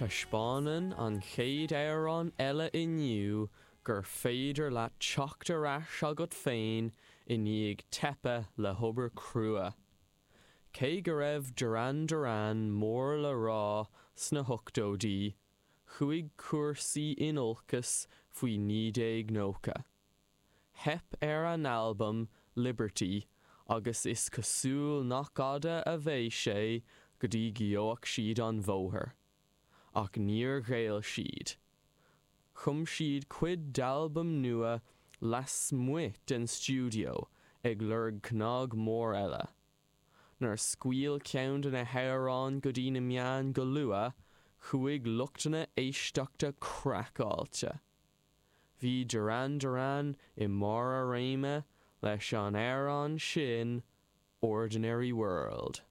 Taispeánann an chéad amhrán eile inniu gur féidir leat teacht ar ais agat féin i ndiaidh teipe le hobair crua. Cé go raibh Duran Duran mór le rá sna hochtóidí, chuaigh cúrsaí in olcas faoi 1990. Theip ar a n-albam Liberty agus is cosúil nach fhada a bheidh sé go dtí gheobhadh siad an bhóthar. Ach níor ghéill siad. Chum siad cuid d'albam nua lasmuigh den stiúideo ag lorg cnag mór eile. Nuair a scaoil ceann de na hamhráin go dtí na meáin go luath, chuaigh lucht na éisteachta craiceáilte. Bhí Duran Duran i mbarr a réime leis an amhrán sin Ordinary World.